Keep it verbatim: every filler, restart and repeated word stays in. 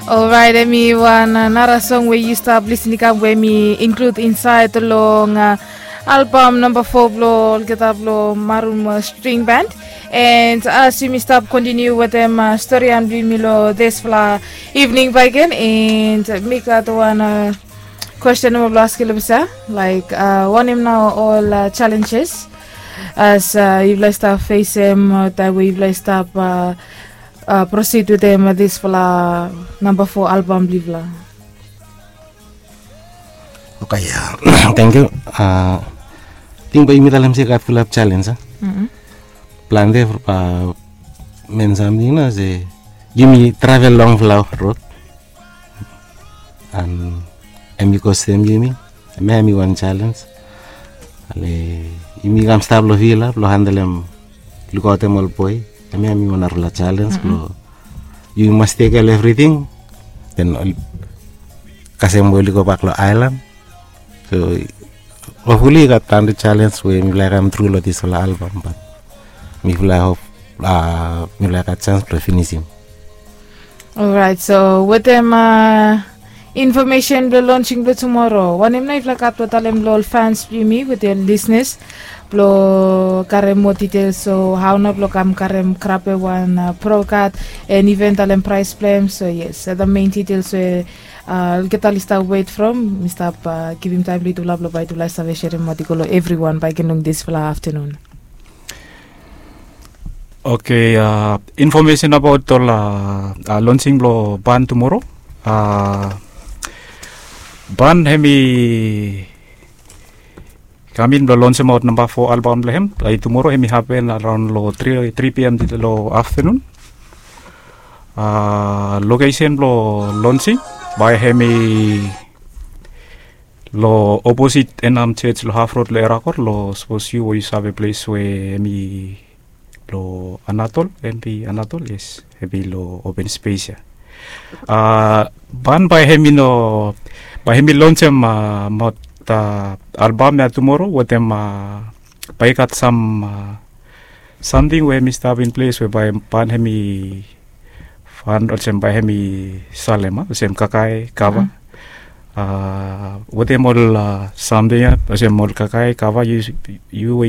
Orait, em i wan nara song we yu stap lisin i kam we em i inklud insaed long albam namba fo blong olgeta blong Marum String Band. And as yumi stap kontiniu wetem storian blong yumi long disfala evening bagen, and mi gat wan kwesten we blong askim long bisa, laik, wanem nao ol challenges as yufala i stap fesem taem we yufala i stap prosid wetem disfala namba fo albam blong yufala? Oke, ya. Tangkiu. Ting bae yumi talem se i gat fulap chalens a. Plante, men samting nao se yumi travel longfala rod, an em i kostem yumi. Em ya em i wan chalens. Ale yumi kam stap long vila blong handelem, lukaotem ol boe. Em ya em i wan narafala chalens blong yumi mas tekem evriting. Den kasem we oli gobak long aelan. So hopfuli i gat plante chalens we mifala i kam tru long disfala albam, bat mifala i hop mifala i gat sans blong finisim. Orait, so wetem infomesen blong lonsing blong tumoro, wanem nao yufala gat blong talem long ol fans blong yumi wetem ol lisnas blong karem moa details, so hao nao blong kam karem krape wan prokat, and iven talem praes blong hem? So yes, the main details we olgeta oli stap wet from, mi stap givim taem long yutufala blong bae yutufala i save serem maot i go long evriwan bae i ken long disfala aftanun. Oke, infomesen abaot ol lonsing blong ban tumoro. Ban hem i kam in blong lonsemaot namba fo albam blong hem. Tumoro hem i hapen araon long tri pm long aftanun. Lokesen blong lonsing bae hem i long oposit Enam Church long Half Road long Erakor, long sapos yu we yu save ples we hem i long Anatol, M P Anatol, yes, hem i long open space ya. Ban bae hem i no, bae hem i lonsem maot albam ya tumoro wetem bae i gat sam samting we hem i stap in ples we bae ban hem i fan olsem bae hem i salem, olsem kakae, kava. Wetem ol samting ya, olsem ol kakae, kava, yu we yu